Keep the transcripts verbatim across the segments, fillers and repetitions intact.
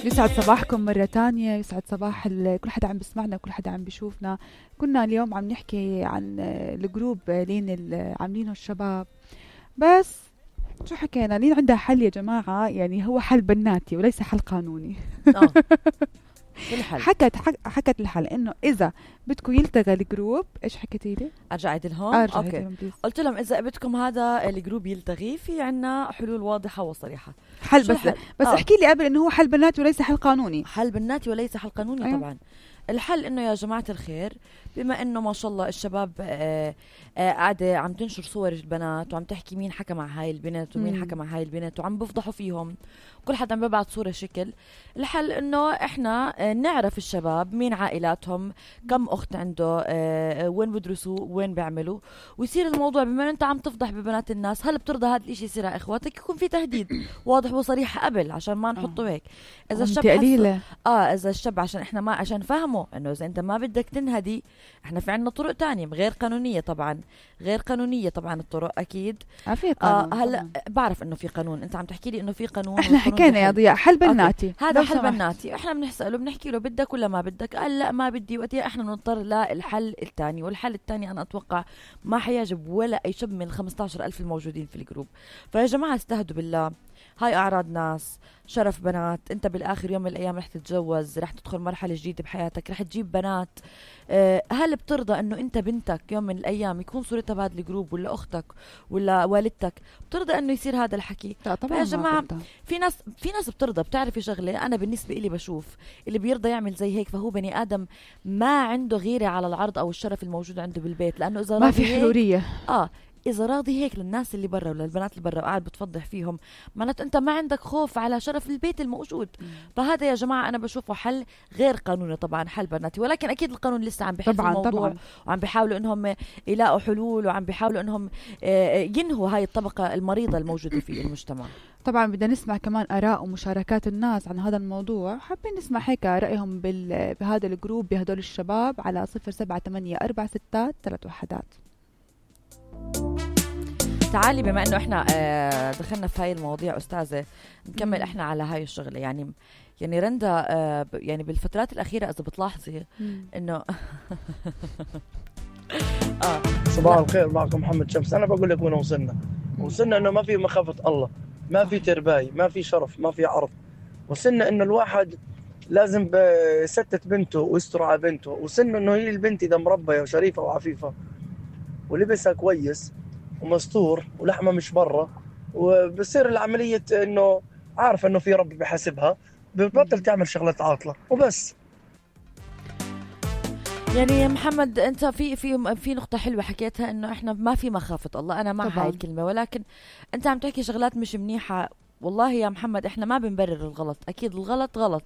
يسعد صباحكم مرة تانية، يسعد صباح كل حدا عم بسمعنا وكل حدا عم بيشوفنا. كنا اليوم عم نحكي عن الجروب لين اللي عاملينه الشباب، بس شو حكينا؟ لين عندها حل يا جماعة، يعني هو حل بناتي وليس حل قانوني. اه الحل حكت حكت الحل انه اذا بدكم يلتغى الجروب، ايش حكيتي لي؟ ارجع اعيد لهم. ارجع اوكي لهم قلت لهم اذا بدكم هذا الجروب يلتغي، في عنا حلول واضحه وصريحه. حل بس حل؟ بس آه. احكي لي قبل انه هو حل بناتي وليس حل قانوني. حل بناتي وليس حل قانوني. أيوه. طبعا الحل انه يا جماعه الخير، بما انه ما شاء الله الشباب آه آه قاعده عم تنشر صور البنات وعم تحكي مين حكى مع هاي البنت ومين مم. حكى مع هاي البنت وعم بفضحوا فيهم، كل حد عم ببعث صوره شكل. الحل انه احنا آه نعرف الشباب مين عائلاتهم، كم اخت عنده، آه وين بدرسوا، وين بيعملوا، ويصير الموضوع بما انت عم تفضح ببنات الناس، هل بترضى هذا الاشي يصير على اخواتك؟ يكون في تهديد واضح وصريح قبل عشان ما نحطه هيك. اذا الشاب قليلة اه اذا الشاب عشان احنا ما عشان فهمه انه اذا انت ما بدك تنهدي، احنا في عنا طرق تانية غير قانونية. طبعا غير قانونية طبعا الطرق اكيد. آه في قانون. آه هلا بعرف انه في قانون، انت عم تحكي لي انه في قانون. احنا حكينا يا ضياء حل بناتي، هذا حل بناتي. احنا بنسأله بنحكي له بدك ولا ما بدك، قال لا ما بدي، وقتها احنا نضطر للحل الثاني. والحل الثاني انا اتوقع ما حيعجب ولا اي شاب من ال خمسة عشر ألف الموجودين في الجروب. فيا جماعة استهدوا بالله، هاي أعراض ناس، شرف بنات. انت بالاخر يوم من الايام رح تتجوز، رح تدخل مرحله جديده بحياتك، رح تجيب بنات. أه هل بترضى انه انت بنتك يوم من الايام يكون صورتها بهذا الجروب، ولا اختك ولا والدتك؟ بترضى انه يصير هذا الحكي؟ لا طبعا يا جماعه في ناس في ناس بترضى. بتعرفي شغله، انا بالنسبه لي بشوف اللي بيرضى يعمل زي هيك فهو بني ادم ما عنده غيره على العرض او الشرف الموجود عنده بالبيت، لانه اذا ما في حروريه. اه إذا راضي هيك للناس اللي برا ولا البنات اللي برا وقاعد بتفضح فيهم، معناته أنت ما عندك خوف على شرف البيت الموجود. مم. فهذا يا جماعة أنا بشوفه حل غير قانوني طبعا، حل بناتي، ولكن أكيد القانون لسه عم بيحل الموضوع طبعاً. وعم بيحاولوا إنهم يلاقوا حلول، وعم بيحاولوا إنهم ينهوا هاي الطبقة المريضة الموجودة في المجتمع. طبعا بدنا نسمع كمان آراء ومشاركات الناس عن هذا الموضوع، حابين نسمع هيك رأيهم بهذا الجروب بهدول الشباب على صفر سبعة ثمانية أربعة ستة ثلاث وحدات. تعالي بما انه احنا آه دخلنا في هاي المواضيع استاذه، نكمل مم. احنا على هاي الشغله. يعني يعني رندا آه يعني بالفترات الاخيره اذا بتلاحظي انه اه صباح الخير، معكم محمد شمس. انا بقول لك وين وصلنا. وصلنا انه ما في مخافه الله، ما في ترباي، ما في شرف، ما في عرض. وصلنا انه الواحد لازم يستت بنته ويستر على بنته. وصلنا انه هي البنت اذا مربيه وشريفه وعفيفه ولبسها كويس ومستور ولحمه مش برا، وبصير العمليه انه عارف انه في رب بحاسبها، بتبطل تعمل شغلات عاطله وبس. يعني يا محمد انت في في في نقطه حلوه حكيتها، انه احنا ما في مخافه الله. انا مع هاي الكلمه، ولكن انت عم تحكي شغلات مش منيحه. والله يا محمد احنا ما بنبرر الغلط، اكيد الغلط غلط،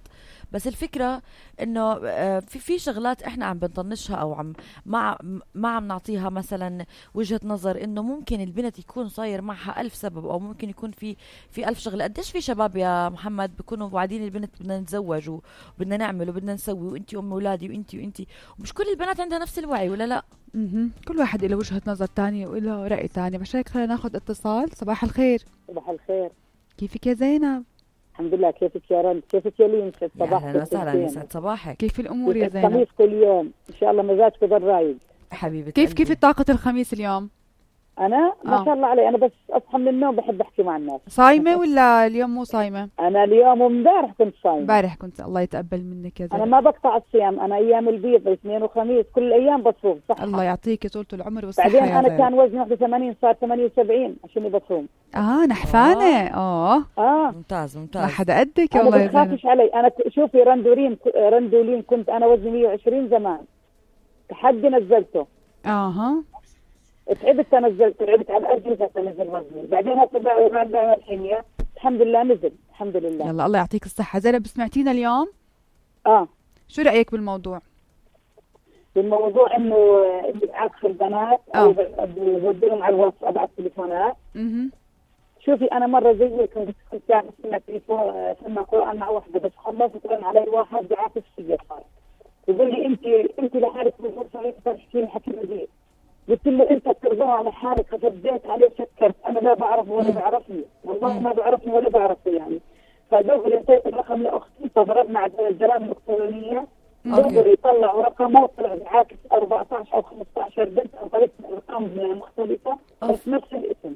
بس الفكره انه في في شغلات احنا عم بنطنشها او عم ما ما عم نعطيها مثلا وجهه نظر، انه ممكن البنت يكون صاير معها ألف سبب، او ممكن يكون في في ألف شغله. قديش في شباب يا محمد بيكونوا وعدين البنت بدنا نتزوج وبدنا نعمل وبدنا نسوي، وانتي ام اولادي وانتي وانتي ومش كل البنات عندها نفس الوعي، ولا لا؟ اها كل واحد له وجهه نظر تانية وله راي تاني. مش هيك خلينا ناخذ اتصال. صباح الخير. صباح الخير، كيفك يا زينب؟ الحمد لله. كيفك يا رند؟ كيفك يا لين؟ صباح اهلا وسهلا، يسعد صباحك. كيف الامور يا زينب؟ الخميس كل يوم ان شاء الله مزاجك ضل رايق حبيبتي. كيف كيف طاقه الخميس اليوم؟ انا ما آه. شاء الله علي، انا بس اصحى من النوم بحب احكي مع الناس. صايمه ولا اليوم مو صايمه؟ انا اليوم وامبارح كنت صايمه. امبارح كنت. الله يتقبل منك يا زينب. انا ما بقطع الصيام، انا ايام البيض اثنين وخميس كل الايام بصوم. صح، الله يعطيك طولة العمر والصحه. بعدين انا كان وزني واحد وثمانين صار ثمانية وسبعين عشان بصوم. اه نحفانه. اه اه ممتاز ممتاز. ما حدا قدك يا الله. ما تخافش علي. انا شوفي رندولين رندولين كنت انا وزني مية وعشرين زمان، تحدي نزلته. اها تعبت نزلت، تعبت على الأجهزة نزل وزني. بعدين هسه بعد الحين الحمد لله نزل الحمد لله. يلا الله يعطيك الصحة. زينب سمعتينا اليوم؟ اه شو رأيك بالموضوع؟ بالموضوع انه اللي بعكس البنات او بوديهم على الواتساب على التليفونات. اها شوفي انا مرة زي كنت كنت يعني سمعت تليفون سمع قرآن مع واحدة، بس خلصت رن علي واحد بعاكس فيا صار يقول لي انت انت لحالك بتقول صحيح تحكي حكي بديل. قلت له انت بترضى على حالك، فرديت عليه شكرت. انا لا بعرفه ولا بعرفني، والله ما بعرفني ولا بعرفه يعني. فدغري اعطيت الرقم لاختي، فضربنا على الجرائم الالكترونيه، أوكي. دغري طلعوا رقمه طلع بعاكس أربعطعش او خمسطعش بنت او ثلاث ارقام مختلفه بس نفس الاسم.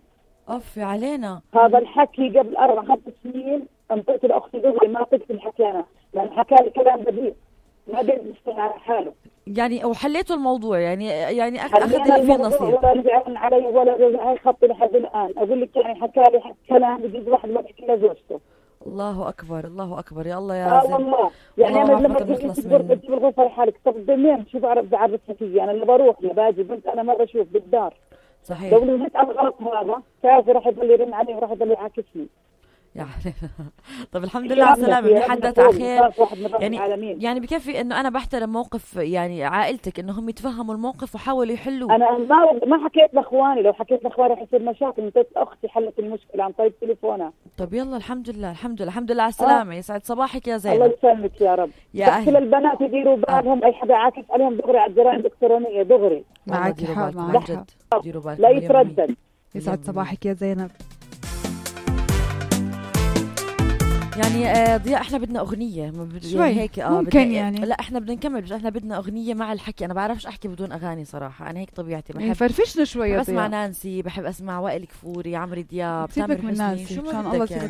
اوف علينا. هذا الحكي قبل اربع خمس سنين انطيت لاختي دغري ما قلت الحكي انا، لان حكى لي كلام بديل ما قدر يستمع على حاله. يعني وحليتوا الموضوع يعني يعني أخ- حلينا اخذ اللي فيه الموضوع نصيب. ولا رجعن علي ولا رجع خطي لحد الان. اقول لك يعني حكى لي حكي كلام بجوز واحد ما بيحكي لزوجته. الله اكبر الله اكبر يا الله يا اه زين. والله يعني والله انا لما عافية تجي نخلص تقول منه. تجيب الغرفه لحالك، طب منين شو بعرف بعرفها فيي انا اللي بروح يا باجي بنت انا ما بشوف بالدار. صحيح. لو نزلت على الغلط هذا تعرفي راح يضل يرن علي وراح يضل يعاكسني. يعني طب الحمد لله على السلامة، بنحدث على خير. يعني يعني بكفي انه انا بحترم موقف يعني عائلتك انهم يتفهموا الموقف وحاولوا يحلوه. انا ما ما حكيت لاخواني، لو حكيت لاخواني رح يصير مشاكل. انت اختي حلت المشكله عن طريق تليفونها. طب يلا الحمد لله الحمد لله الحمد لله على السلامة. يسعد صباحك يا الله زينب. يسلمك يا رب. يا بس أهل. كل البنات يديروا بالهم، اي حدا عاكس عليهم دغري على الجرائم الالكترونيه دغري والله معك ديروا حق بالكم معك عن حق. جد. ديروا بالكم لا مليون بالمية. يتردد. يسعد مليون صباحك يا زينب. يعني آه ضياء احنا بدنا اغنيه ما بد- شوي. يعني هيك اه ممكن بدنا- يعني. لا احنا بدنا نكمل بس احنا بدنا اغنيه مع الحكي. انا بعرفش احكي بدون اغاني صراحه، انا هيك طبيعتي يعني بحب فرفشنا شوي يا بحب اسمع ضياء. نانسي، بحب اسمع وائل كفوري، عمرو دياب، سيبك تامر من حسني، نانسي، شو مشان ما الله بدك سيبك يعني.